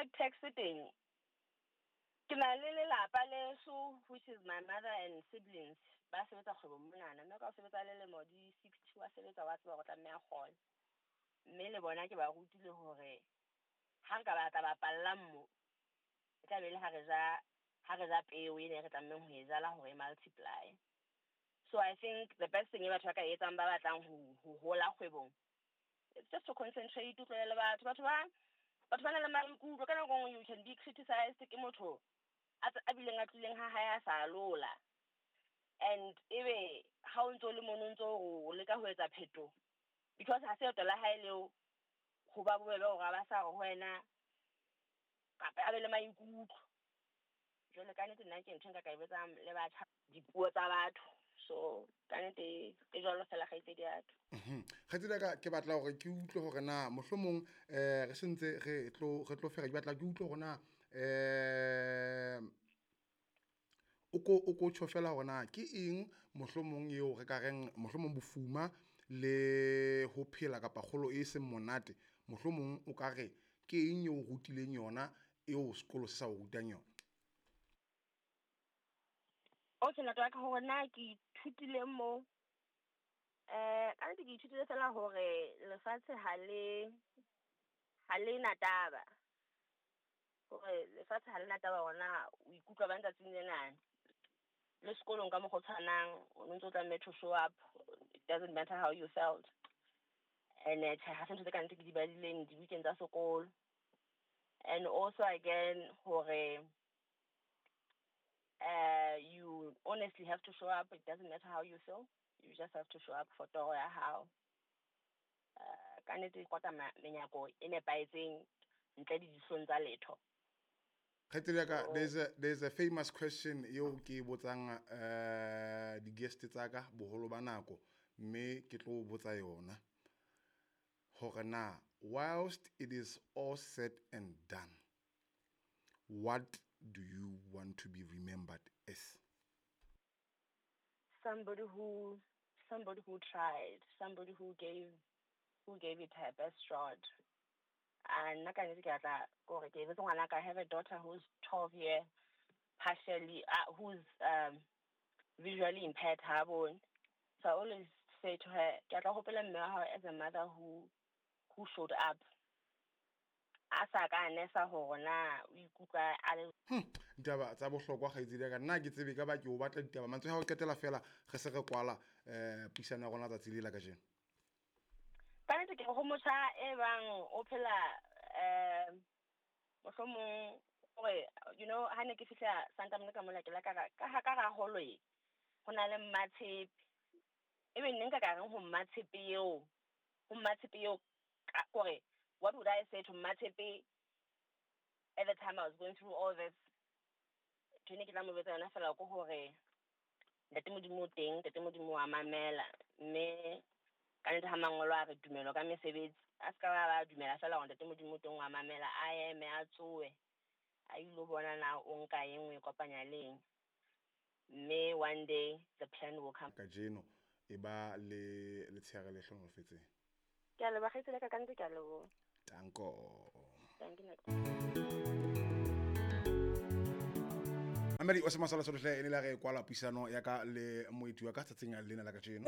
Profit tax teng, ke na le lelapa leso, which is my mother and siblings, ba sebetsa kgwebong monana. Mme ka o sebetsa le lemo di 60, wa sebetsa, wa tseba hore o tlameha kgole. Mme le bona ke ba rutile hore ha nka ba tla ba pallang mo, e tla be le ha re ja peo ene re tlamehang ho e jala hore e multiply. So I think the best thing e batho ba ka e etsang ba batlang ho hola kgwebong, it's just to concentrate, o tlohele batho. Batho ba na le maikutlo. Ka nako e nngwe you can be criticized ke motho a bileng a tlileng ha hae a sa lola, and ebe ha o ntso le mono, o ntso o leka ho etsa phetoho, because ha se leeto la hae leo, ho ba bobebe hore a ba sa re ho wena kapa a be le maikutlo. Jwale ka nnete nna ke ntho e nka ka e betsang le batjha, dipuo tsa batho. So ka nnete e jwalo fela, kgaitsedi ya ka. Kgaitsedi ya ka, ke batla hore ke utlwe hore na mohlomong re sentse re tlo fela, ke batla ke utlwe hore na o ko tjho fela hore na ke eng mohlomong eo re ka reng mohlomong bofuma le ho phela kapa kgolo e seng monate, mohlomong o ka re ke eng eo o rutileng yona eo sekolo se sa o rutang yona? Okay, ntate wa ka, hore na ke ithutile mo, ka nnete ke ithutile fela hore lefatshe ha le na taba, hore lefatshe ha le na taba hore na o ikutlwa bang tsatsing lena. Le sekolong ka mokgwa o tshwanang, o no ntso tlameha to show up, it doesn't matter how you felt. And tjhe, ha se ntho tse ka nnete ke di badileng dibukeng tsa sekolo. And also again hore you honestly have to show up, it doesn't matter how you feel, you just have to show up for toro ya hao. Ka nnete kota menyako e nepahetseng ntle le dihlong tsa letho. Kgaitsedi ya ka, there's a famous question eo ke e botsang di-guest tsa ka boholo ba nako, mme ke tlo o botsa yona hore na, whilst it is all said and done, what do you want to be remembered as? Somebody who tried, somebody who gave it her best shot. And nna ka nnete ke batla kore ke ebetse ngwanaka. I have a daughter who's 12 year partially, who's visually impaired, ha bone. So I always say to her, ke tla hopola mme wa hao as a mother who showed up, a sa ka nesa hore na o ikutlwa a le. Ditaba tsa bohlokwa, kgaitsedi ya ka. Nna ke tsebe ka ba ke o batla ditaba mantswe ha o qetela fela, re se re kwala puisano ya rona tsatsi le la kajeno. Ka nnete ke re ho motjha e bang o phela, mohlomong hore ha ne ke fihla Santa Monica mola, ke la ka ra holo e ho na le Mmatshepe, ebe nne nka ka reng ho Mmatshepe eo, ho Mmatshepe eo, kore what would I say to Mmatshepe at the time I was going through all this? Ntho e ne ke tla mo jwetsa yona fela ke hore Ntate Modimo o teng, Ntate Modimo wa mamela, mme ka nnete ha mangolo a re tumelo ka mesebetsi, a se ka ba dumela fela hore Ntate Modimo o teng wa mamela, a eme, a tsohe, a ilo bona na o nka eng, o e kopanya le eng, mme one day the plan will come. Kajeno e ba le letshehare le hlohonolofetseng. Ke a leboha, kgaitsedi ya ka, ka nnete ke a leboha. Tanko. Thank you. Mamedi o se masala sohle, e ne la re kwala puisano ya ka le moeti wa ka tsatsing lena la kajeno.